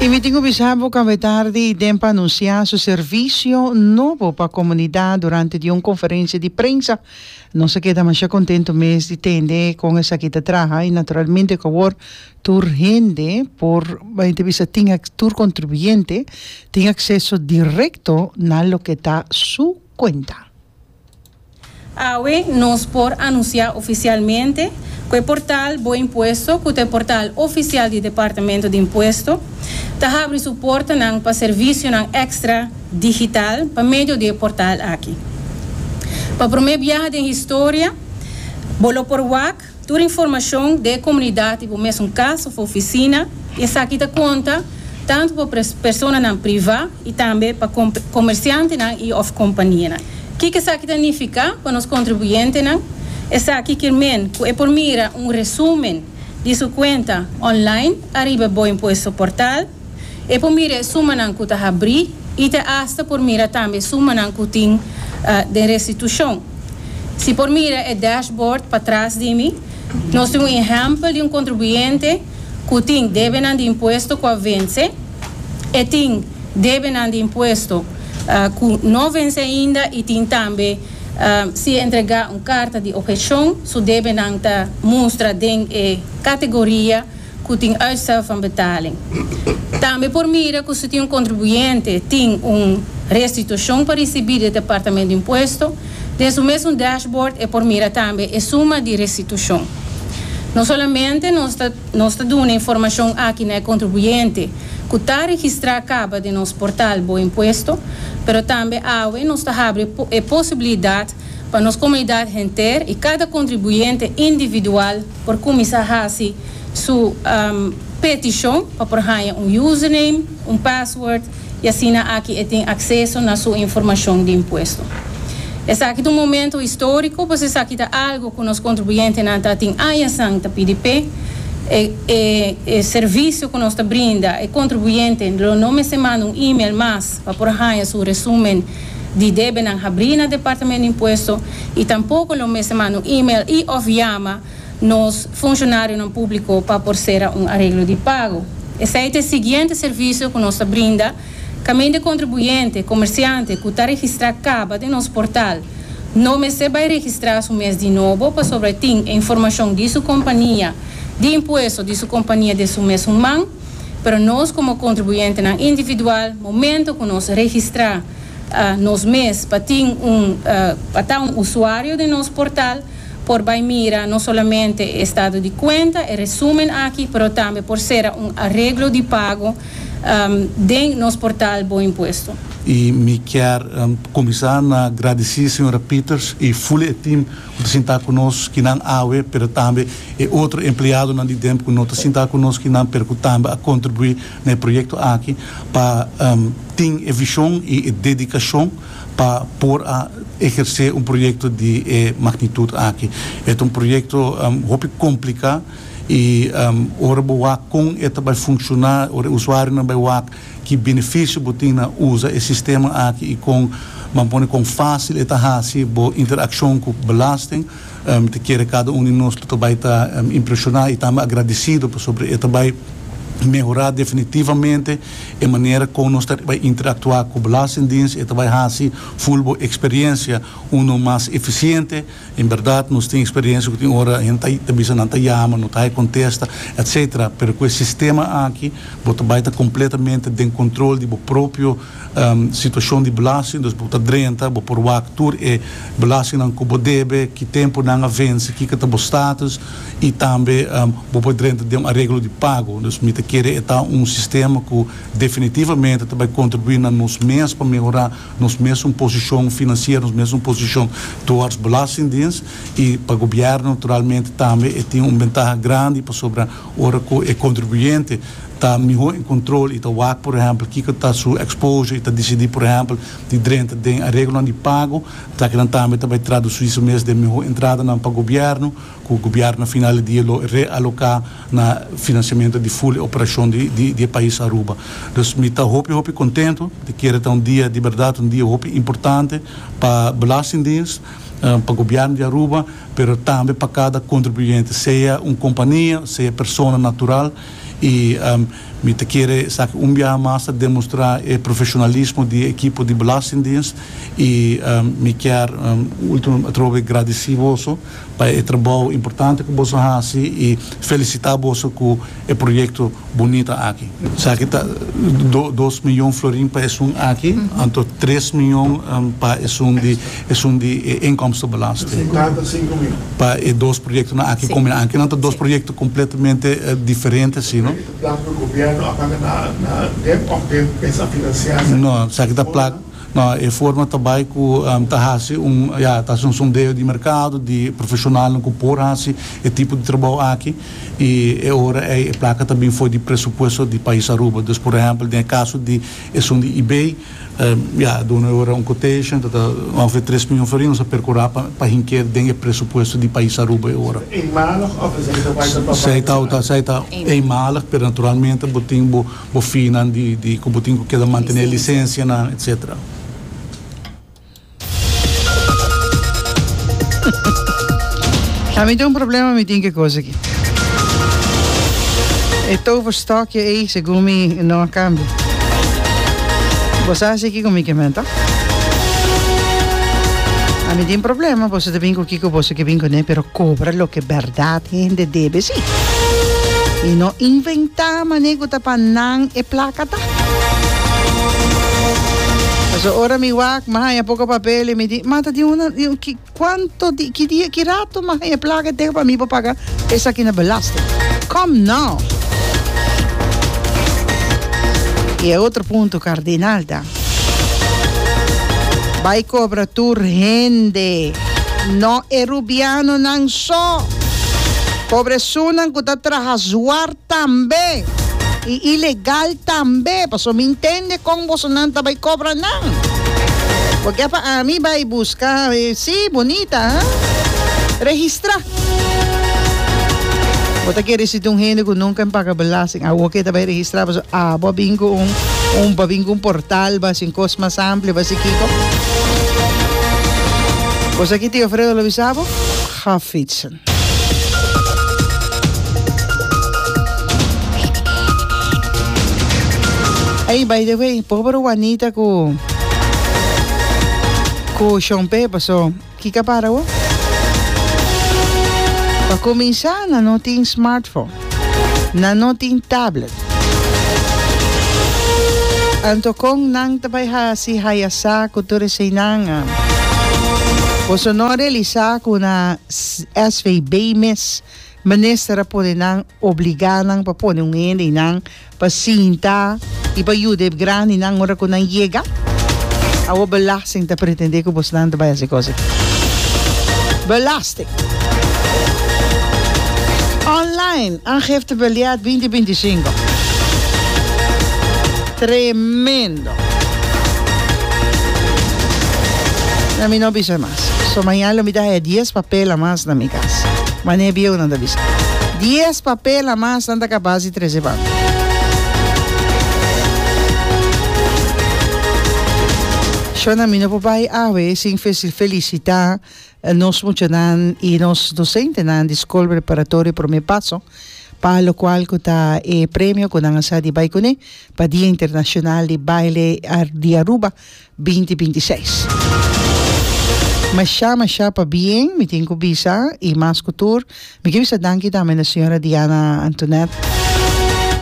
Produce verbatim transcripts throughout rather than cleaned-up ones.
I mi tin ku bisa bo ku tardi D E M P a anunsiá su servisio nobo pa komunidat durante di un konferensia di prensa. Nos a keda masha kontentu mes di tende kon esaki ta traha i naturalmente ku awor tur hende por entrevista tin tur kontribuyente tin akseso direkto na loke ta su kuenta. Awe nos por anunsiá ofisialmente ku e portal Bo Impuesto, ku ta e portal ofisial di Departamento di Impuesto, ta habri su portanan pa servisionan èkstra digital pa medio di e portal aki. Pa promé biaha den historia, bo lo por wak tur informashon di komunidat, bo mesun kas òf ofisina, i esaki ta konta tantu pa personanan privá i tambe pa komersiantenan i òf kompanianan. Kiko esaki ta nifiká pa nos kontribuyentenan? Esaki ke men ku e por mira un resúmen di su kuenta online ariba Bo Impuesto portal, e por mira sumanan ku ta habrí i te hasta por mira tambe sumanan ku tin uh, di restitushon. Si por mira e dashboard patras di mi, nos tin un ehèmpel di un kontribuyente ku tin debenan di impuesto ku a vense, i tin debenan di impuesto uh, ku no a vense ainda i tin tambe uh, si entregá un karta di opheshon, su debenan ta mustra den e kategoria ku tin uitstel van betaling. Tambe por mira ku si tin un kontribuyente tin un restitushon pa risibí di Departamento di Impuesto, den su mesun dashboard e por mira tambe e suma di restitushon. No solamente nos ta nos ta duna informashon aki na kontribuyente ku ta registrá kaba den nos portal Bo Impuesto, pero tambe awe nos ta habri e posibilidat pa nos komunidat henter i kada kontribuyente individual por kuminsá hasi su um, petishon pa por haña un username, un password i asina aki e tin akseso na su informashon di impuesto. Esaki ta un momento históriko, pues esaki ta algu ku nos kontribuyentenan tin aña ta pidi p'e, e, e, e servisio ku nos ta brinda, e kontribuyente no mester manda un e-mail mas pa por haña su resúmen di debenan habrí na Departamento di Impuesto i tampoko no mester manda un e-mail i òf yama nos funshonarionan públiko pa por sera un areglo di pago. Esaki ta e siguiente servisio ku nos ta brinda, kaminda kontribuyente, komersiante, ku ta registrá kaba den nos portal, no mester bai registrá su mes di nobo, pasobra tin informashon di su kompania, di impuesto di su kompania den su mes man, pero nos komo kontribuyentenan individual, momento ku nos registrá uh, nos mes pa tin un uh, pa un usuario di nos portal, por bai mira no solamente estado di kuenta, e resúmen aki, pero tambe por sera un areglo di pago um, den nos portal Bo Impuesto. I mi ke um, kuminsá na gradisí señora Peters i full e team ku ta sintá ku nos akinan awe, pero tambe e otro empleadonan di D E M P ku no ta sintá ku nos akinan, pero ku tambe a kontribuí na e proyekto aki pa um, tin e vishon i e dedikashon pa por a ehersé un proyekto di eh, magnitut aki. E ta un proyekto um, hopi kompliká i um, ora bo wak kon e ta bai funshoná, ora usuarionan bai wak ki benefisio bo tin na usa e sistema aki i kon ban pone kon fásil e ta hasi bo interakshon ku belasting, um, ta kere kada un di nos ta bai ta um, impreshoná i tambe agradesido pasobra e ta bai mehorá definitivamente e manera kon nos bai interaktuá ku Belastingdienst i bai hasi full bo eksperensia un mas efisiente. En berdat, nos tin eksperensia ku tin ora hende ta bisa nan ta yama, no ta kontestá, et cetera. Pero ku e sistema aki, bo bai ta kompletamente den kontrol di bo propio um, situashon di belasting, dus bo ta drenta, bo por wak tur e belastingnan ku bo debe, ki tempu nan a vense, kiko ta bo status i tambe um, bo por drenta den un areglo di pago. Dus mi ta kere ta un sistema ku definitivamente ta bai kontribuí na nos mes pa mehorá nos mes posishon finansiero, nos mes posishon towards Belastingdienst i pa gobièrnu naturalmente tambe e tin un bentaha grandi pasobra ora ku e kontribuyente ta mihó den kontrol i ta wak, por ehèmpel, kiko ta su exposure i ta disidí, por ehèmpel, di drenta den areglo di pago, ta ku tambe ta bai tradusí su mes den mihó entradanan pa gobièrnu, ku gobièrnu na final di dia lo realoká na finansiamentu di full operashon di, di, di pais Aruba. Dus mi ta hopi hopi kontentu, ta kere ta un dia di berdat, un dia hopi importante pa Belastingdienst, uh, pa gobièrnu di Aruba, pero tambe pa kada kontribuyente, sea un kompania, sea persona natural. Y um, mi ta kere esaki un biaha mas ta demostra e profesionalismo di ekipo di Belastingdienst y um, mi kier um, ultimo atrobe gradici boso pa e trabou importante cu boso a haci y felicita boso cu e proyecto bunita aki. Esaki ta do, dos miyon florin pa esun aki, anto tres miyon um, pa esun di esun di eh, inkomstenbelasting. Cinco mil. Pa e dos proyectonan aki Si. combina. Aki nan ta dos Si. proyecto completamente eh, diferente, si, no? Placa di gobierno a paga na na D E M of D E M pensa financia? No, esaki ta placa. No, e forma tambe cu um, ta hasi un, ja, ta un sondeo di mercado, di profesional cu por hasi e tipo di trabou aki y e ora e placa tambe for di presupuesto di pais Aruba. Dus, por ehempel, den caso di esun di I B, um, ja, duna ora un quotation, dat ongeveer tres miyon florin, nos a percura pa pa hinca den presupuesto di pais Aruba e ora. Eenmalig of is het dat Zij ta, ta, zij ta eenmalig, pero naturalmente bo tin bo bo feenan di di cu bo tin cu keda mantene licencia nan, et cetera. Ami tin un problema, mi tin cu cos aki. E toverstokje ei, segun mi, no a cambia. Bo sa kico mi kiermen? Ami tin problema, bo ta bin cu kico bo kier bin cune, pero cobra loke berdad hende debe, si. Y no inventa manera cu ta pa nan e placa ta. So, ora mi wak, m'a haya poco papel y mi di, mata di una, di un, ki, cuanto, di, ki dia, ki rato m'a haya placa te pa mi pa paga esaki na belasting. Come now. Y otro punto cardinal ta: Bay cobra tur hende. No e rubianonan so. Cobra esunnan cu ta traha zwart tambe. Y ilegal tambe. Paso mi entende con bosonan ta bay cobra nan. Porque pa ami bay busca, eh, si, bunita, hein? Registra. Bo ta kere si un hende cu nunca a paga belasting. Awor cu ta bay registra, paso, ah, bo bin cu un un bo bin cu un portal, ba sin cos mas amplio, ba si kiko. Pues aki Tio Fredo lo bisa bo, ga fietsen. Hey, by the way, pober Juanita cu cu Shompe paso. Kico a para o? Pa cuminsa, nan no tin smartphone. Nan no tin tablet. Anto con nan ta bay hasi haya sa cu tur eseynan. Boso no realisa cu na S V B mes minister a pone nan, obliga nan pa pone un hende nan pa sinta y pa yuda grandinan ora cu nan yega. Awor belasting ta pretende cu boso nan ta bay hasi cos. Belasting. Online, aangiftebiljet dos mil binticinco. Tremendo. Na mi no bisa mas. So mañana lo mi ta dies papel mas na mi cas. Mane bieu nan ta bisa. dies papel mas nan ta capas di trece pa. Shona, mi no por bay awe sin felicita nos muchanan y nos docentenan di Scol Preparatorio Prome Paso pa locual cu ta e premio cu nan a sa di bay cune pa Dia Internacional di Baile di Aruba dos mil bintiseis. Masha, masha pabien, mi tin cu bisa y mas cu tur. Mi kier bisa danki tambe na señora Diana Antoinette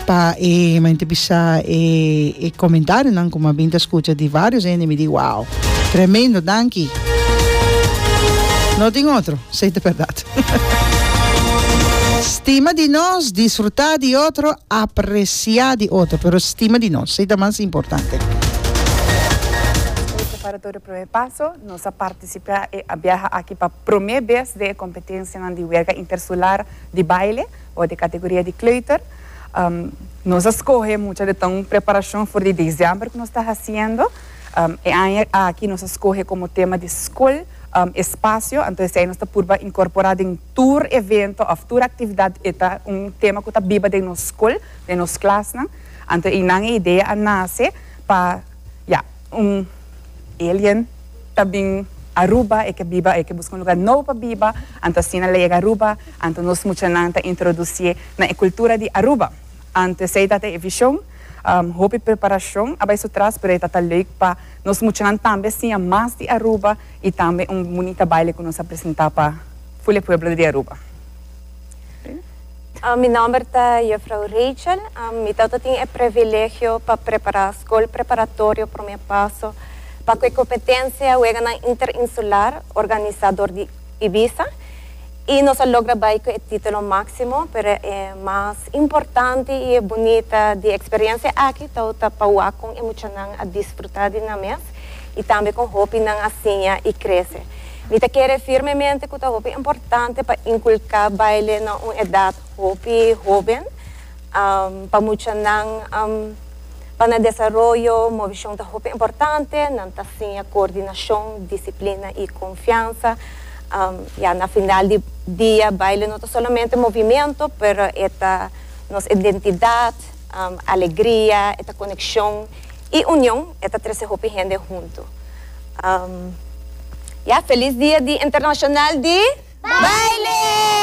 pa e mi bisa e, e comentarionan cu m'a bin ta scucha di varios hende, mi di wow. Tremendo, danki. No tin otro, esey ta berdad. Stima di nos, disfruta di otro, aprecia di otro, pero stima di nos, esey ta mas importante. Preparatorio Prome Paso, nos a participa y a biaha aki pa prome bes den competencia di wega interinsular di baile of di categoria di kleuter. Um, nos a scoge mucho di un preparacion for di december cu nos ta haciendo. Um, y aki nos a scoge como tema di scol um, espacio, anto ey nos ta purba incorpora den tur evento of tur actividad ta un tema cu ta biba den nos scol, den nos klas, no? Anto eynan e idea a nace pa, ja, un alien ta bin Aruba e kier biba e kier busca un luga nobo pa biba, anto asina el a yega Aruba, anto nos muchanan ta introduci na cultura di Aruba. Anto esey ta e vision, um, hopi preparacion a bay su tras, pero ta leuk pa nos muchanan tambe siña mas di Aruba y tambe un bunita baile cu nos a presenta pa e pueblo di Aruba. Uh, mi nomber ta Juffrouw Rachel. Um, mi tin e privilegio pa prepara scol preparatorio Prome Paso pa e competencia Weganan Interinsular organisa door di IBISA. Y nos a logra bay cu e titulo maximo, pero e mas importante y bunita di e experiencia aki, ta ta pa con e muchanan a disfruta di nan mes y tambe con hopi nan a siña y crece. Mi ta kere firmemente cu ta hopi importante pa inculca baile na un edad hopi hoben, um, pa muchanan um, pa nan desaroyo, movecion ta hopi importante, nan ta siña coordinacion, disciplina y confiansa. Um, ya na final di dia, baile no ta solamente movimento, pero ta nos identidad, um, alegria, e conexion y union, e ta trece hopi hende hunto. Um, ya, feliz dia di internacional di baile!